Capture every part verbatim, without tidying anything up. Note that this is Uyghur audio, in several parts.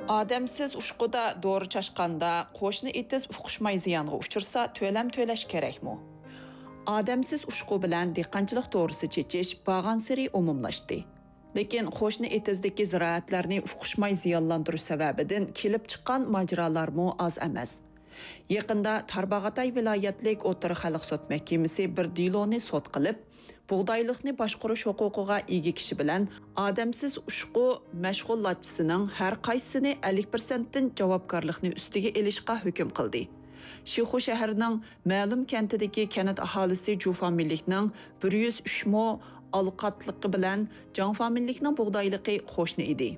ئادەمسىز ئۇشقۇدا دورا چاچقاندا قوشنا ئېتىز ئۇقۇشماي زىيانغا ئۇچرىسا، تۆلەم تۆلەش كېرەكمۇ؟ ئادەمسىز ئۇشقۇ بىلەن دېھقانچىلىق دورىسى چېچىش بارغانسېرى ئومۇملاشتى. لېكىن قوشنا ئېتىزدىكى زىرائەتلەرنى ئۇقۇشماي زىيانلاندۇرۇش سەۋەبىدىن كېلىپ چىققان ماجىرالارمۇ ئاز ئەمەس. يېقىندا تارباغاتاي ۋىلايەتلىك ئوتتۇرا خەلق سوت مەھكىمىسى بىر دېلونى سوت قىلىپ، بۇغدايلىقنى باشقۇرۇش ھوقۇقىغا ئىگە كىشى بىلەن ئادەمسىز ئۇشقۇ مەشغۇلاتچىسىنىڭ ھەر قايسىسىنى ئەللىك پىرسەنتتىن جاۋابكارلىقنى ئۈستىگە ئېلىشقا ھۆكۈم قىلدى. شىخۇ شەھىرىنىڭ مەلۇم كەنتىدىكى كەنت ئاھالىسى جۇ فامىلىلىكنىڭ بىر يۈز ئۈچ مو ئالقاتلىقى بىلەن جاڭ فامىلىلىكنىڭ بۇغدايلىقى قوشنا ئىدى.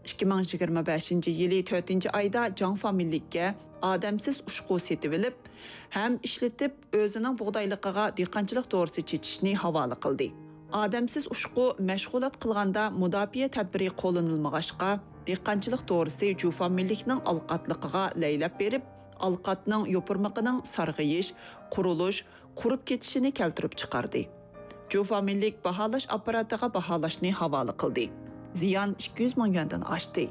ئىككى مىڭ يىگىرمە بەشىنچى يىلى تۆتىنچى ئايدا جاڭ فامىلىلىككە ئادەمسىز ئۇشقۇ سېتىۋېلىپ، ھەم ئىشلىتىپ، ئۆزىنىڭ بۇغدايلىقىغا دېھقانچىلىق دورىسى چېچىشنى ھاۋالە قىلدى. ئادەمسىز ئۇشقۇ مەشغۇلات قىلغاندا مۇداپىئە تەدبىرى قوللىنىلمىغاچقا، دېھقانچىلىق دورىسى جۇ فامىلىلىكنىڭ ئالقاتلىقىغا لەيلەپ بېرىپ، ئالقاتنىڭ يوپۇرمىقىنىڭ سارغىيىش، قۇرۇلۇش، قۇرۇپ كېتىشىنى كەلتۈرۈپ چىقاردى. جۇ فامىلىلىك باھالاش ئاپپاراتىغا باھالاشنى ھاۋالە قىلدى. زىيان ئىككى يۈز مىڭ يۈەندىن ئاشتى.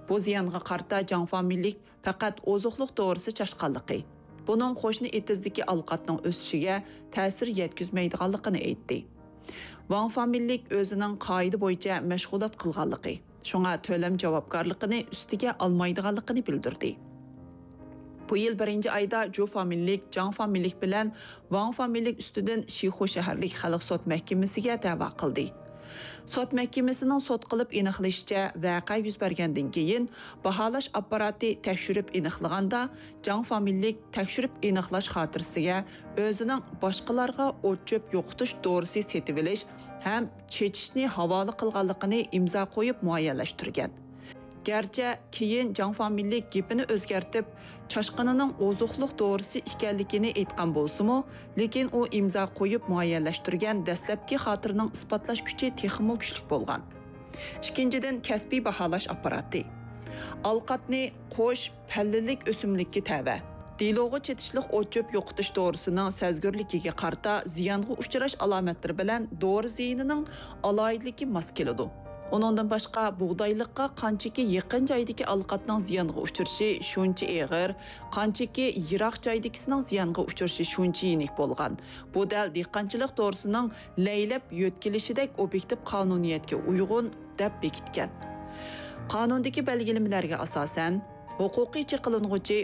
بۇ زىيانغا قارىتا جاڭ فامىلىلىك پەقەت ئوزۇقلۇق دورىسى چاچقانلىقى، بۇنىڭ قوشنا ئېتىزدىكى ئالقاتنىڭ ئۆسۈشىگە تەسىر يەتكۈزمەيدىغانلىقىنى ئېيتتى. ۋاڭ فامىلىلىك ئۆزىنىڭ قائىدە بويىچە مەشغۇلات قىلغانلىقى، شۇڭا تۆلەم جاۋابكارلىقىنى ئۈستىگە ئالمايدىغانلىقىنى بىلدۈردى. بۇ يىل بىرىنچى ئايدا جۇ فامىلىلىك جاڭ فامىلىلىك بىلەن ۋاڭ فامىلىلىك ئۈستىدىن شىخۇ شەھەرلىك خەلق سوت مەھكىمىسىگە دەۋا قىلدى. سوت مەھكىمىسىنىڭ سوت قىلىپ ئېنىقلىشىچە، ۋەقە يۈز بەرگەندىن كېيىن، باھالاش ئاپپاراتى تەكشۈرۈپ ئېنىقلىغاندا، جاڭ فامىلىلىك تەكشۈرۈپ ئېنىقلاش خاتىرىسىگە ئۆزىنىڭ باشقىلارغا ئوت-چۆپ يوقىتىش دورىسى سېتىۋېلىش ھەم چېچىشنى ھاۋالە قىلغانلىقىنى ئىمزا قويۇپ مۇئەييەنلەشتۈرگەن. گەرچە كېيىن جاڭ فامىلىلىك گېپىنى ئۆزگەرتىپ، چاشقىنىنىڭ ئوزۇقلۇق دورىسى ئىكەنلىكىنى ئېيتقان بولسىمۇ، لېكىن ئۇ ئىمزا قويۇپ مۇئەييەنلەشتۈرگەن دەسلەپكى خاتىرىنىڭ ئىسپاتلاش كۈچى تېخىمۇ كۈچلۈك بولغان. ئىككىنچىدىن، كەسپىي باھالاش ئاپپاراتى. ئالقاتنى قوش پەللىلىك ئۆسۈملۈككە تەۋە. دېلوغا چېتىشلىق ئوت-چۆپ يوقىتىش دورىسىنىڭ سەزگۈرلۈكىگە قارىتا زىيانغا ئۇچراش ئالامەتلىرى بىلەن دورا زىيىنىنىڭ ئالاھىدىلىكى ماس كېلىدۇ. ئۇنىڭدىن باشقا، بۇغدايلىققا قانچىكى يېقىن جايدىكى ئالقاتنىڭ زىيانغا ئۇچرىشى شۇنچە ئېغىر، قانچىكى يىراق جايدىكىسىنىڭ زىيانغا ئۇچرىشى شۇنچە يېنىك بولغان. بۇ دەل دېھقانچىلىق دورىسىنىڭ لەيلەپ يۆتكىلىشىدەك ئوبيېكتىپ قانۇنىيەتكە ئۇيغۇن دەپ بېكىتكەن. قانۇندىكى بەلگىلىمىلەرگە ئاساسەن، ھوقۇقىي چېقىلىنغۇچى